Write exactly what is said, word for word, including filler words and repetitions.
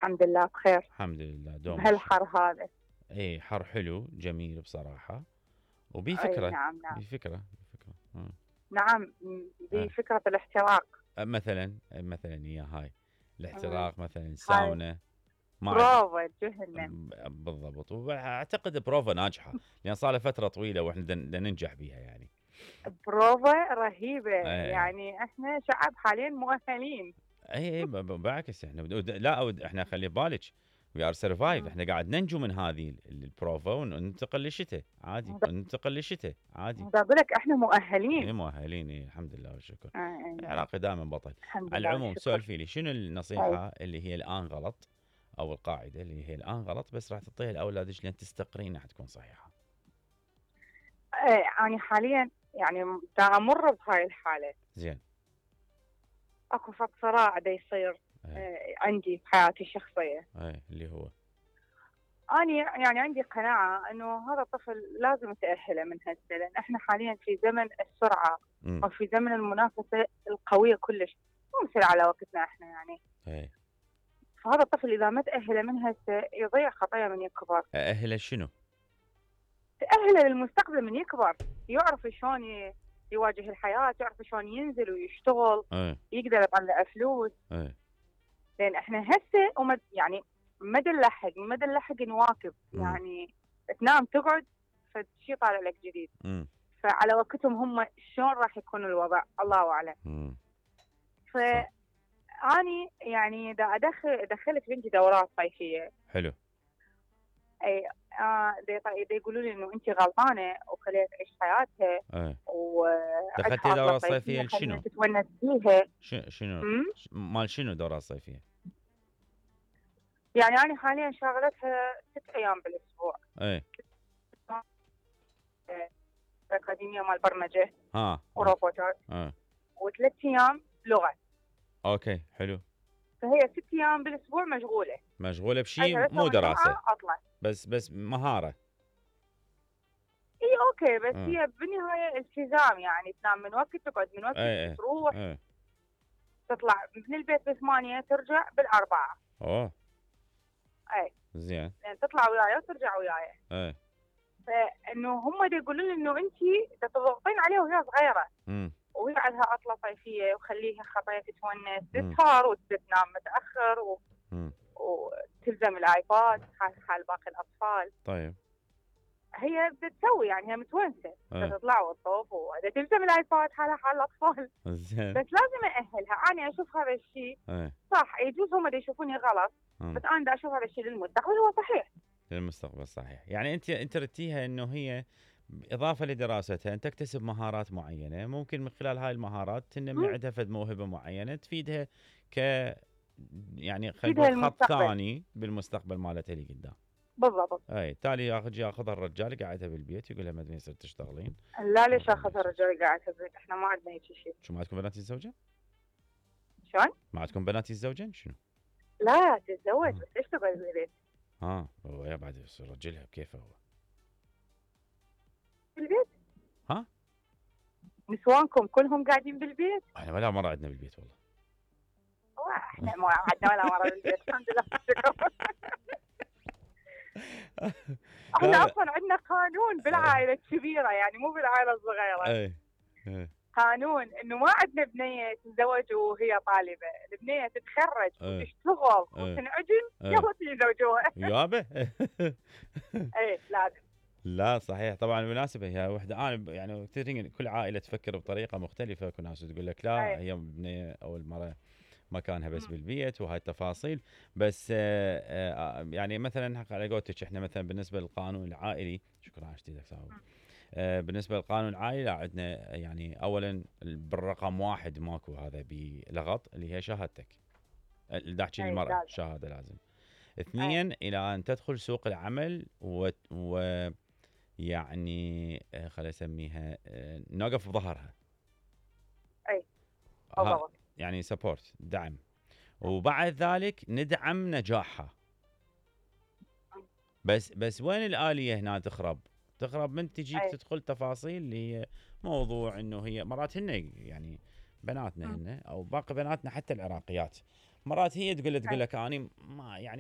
الحمد لله بخير. الحمد لله دوم بهالحر هذا. اي حر حلو جميل بصراحة، وبي اي فكرة نعم نعم بي فكرة بي فكرة آه. نعم. آه. بفكرة الاحتراق. مثلا مثلا هي هاي الاحتراق مثلا هاي ساونا ما عد... بروفا جهنم. بالضبط، واعتقد بروفا ناجحة لان صار لها فترة طويلة واحنا بدنا ننجح بيها يعني. بروفا رهيبة. اي يعني احنا شعب حاليا مؤهلين. اي بالعكس احنا لا احنا خلي بالك وي ار سرفايف، احنا قاعد ننجو من هذه البروفا وننتقل للشتاء عادي، ننتقل للشتاء عادي. اقول لك احنا مؤهلين. اي مؤهلين، اي الحمد لله والشكر. آه العراقي دائما بطل. الحمد على لله العموم والشكر. سولفي لي شنو النصيحة أي. اللي هي الان غلط، او القاعدة اللي هي الان غلط بس راح تعطيها لاولادك لين تستقرين راح تكون صحيحة. ايه انا حاليا يعني دا امر بهاي الحالة. زين. اكو فد صراع دا يصير آه عندي بحياتي الشخصية. اي اللي هو أنا يعني عندي قناعة إنه هذا الطفل لازم تأهله من هسه، لأن إحنا حاليا في زمن السرعة م. أو في زمن المنافسة القوية كلش، مو مثل على وقتنا إحنا يعني. اي. فهذا الطفل إذا ما تأهله من هسه يضيع خطايا من يكبر. أأهله شنو؟ تأهله للمستقبل من يكبر، يعرف شلون يواجه الحياة، يعرف شلون ينزل ويشتغل، أي. يقدر يطلع فلوس. أي. لأن إحنا هسه ومد يعني ما نلحق ما نلحق نواكب. م. يعني تنام تقعد فشي طالع لك جديد. م. فعلى وقتهم هم شلون راح يكون الوضع الله اعلم. فاني يعني دا ادخل دخلت بنتي دورات صيفيه. حلو. اي آه دا يقولوا لي انه انت غلطانه وخليها تعيش حياتها. اي. و دخلتي دوره صيفيه لشنو؟ تتونس فيها. شنو مال شنو دوره صيفيه؟ يعني انا حاليا شاغلتها ست ايام بالاسبوع. اي. اكاديميه مال برمجه ها وروبوتات. اه وثلاث ايام لغه. اوكي حلو. فهي ست ايام بالاسبوع مشغوله. مشغوله بشيء مو دراسه. اطلع. بس بس مهاره. اي اوكي بس م. هي بالنهايه التزام، يعني تنام من وقت تقعد من وقت أي تروح. أي. تطلع من البيت بثمانية ترجع بالأربعة. اوه اي زين. يعني تطلع وياي وترجع وياي. اي. فانه هم دا يقولون لي انه انت دا تضغطين عليها وهي صغيره. امم وهي عندها عطله صيفيه وخليها خطايا تتونس تسهر وتنام متاخر و... وتلزم الايباد حال حال باقي الاطفال. طيب هي بتسوي يعني هي متونسه تطلع وتطوف وتلزم الايباد حالها حال الاطفال. زين. بس لازم ااهلها. انا اشوف هذا الشيء صح، يجوز هم يشوفوني غلط م. بس انا دا اشوف هذا الشيء للمستقبل هو صحيح. للمستقبل صحيح. يعني انت انت رتيها انه هي اضافه لدراستها ان تكتسب مهارات معينه، ممكن من خلال هاي المهارات تنمي عندها فد موهبه معينه تفيدها ك يعني خلينا نقول خط ثاني بالمستقبل مالتها اللي قدام. بالضبط. اي تالي ياخذ ياخذها الرجال قاعدها بالبيت يقول لها ما يصير تشتغلين. لا ليش اخذها الرجال قاعدها بالبيت؟ احنا ما عندنا هيك شيء. شو ما عندكم بنات الزوجه؟ شلون؟ ما عندكم بنات الزوجين شنو؟ لا تتزوج بس ليش تقعد بالبيت؟ ها هو يا بعد رجلها كيف هو؟ بالبيت؟ ها؟ نسوانكم كلهم قاعدين بالبيت؟ احنا ولا مرة عندنا بالبيت والله. احنا ما عندنا ولا مرة بالبيت الحمد لله. احنا اصلا عندنا قانون بالعائلة الكبيرة يعني مو بالعائلة الصغيرة. اي اي قانون انه ما عندنا بنية تتزوج وهي طالبة، البنية تتخرج أي. وتشتغل وتنعجن يلا تزوجوها. يابا. اي لازم. لا صحيح طبعا بالمناسبة هي وحدة انا يعني كل عائلة تفكر بطريقة مختلفة، كل ناس تقول لك لا أي. هي بنية او المرأة مكانها بس م. بالبيت وهاي التفاصيل. بس يعني مثلا على قولتك احنا مثلا بالنسبة للقانون العائلي شكرا على اشتيدك ساوي. آه بالنسبه للقانون العائلي عندنا يعني اولا بالرقم واحد ماكو هذا بلغط اللي هي شهادتك اللي احكي المراه شهاده لازم. اثنين الى ان تدخل سوق العمل و, و... يعني آه خلينا نسميها آه نوقف بظهرها. اي ها يعني سبورت دعم، وبعد ذلك ندعم نجاحها. بس بس وين الآلية هنا تخرب؟ تخرب من تجيك أي. تدخل تفاصيل اللي هي موضوع انه هي مرات هن يعني بناتنا هن او باقي بناتنا حتى العراقيات مرات هي تقول له تقول أي. لك اني ما يعني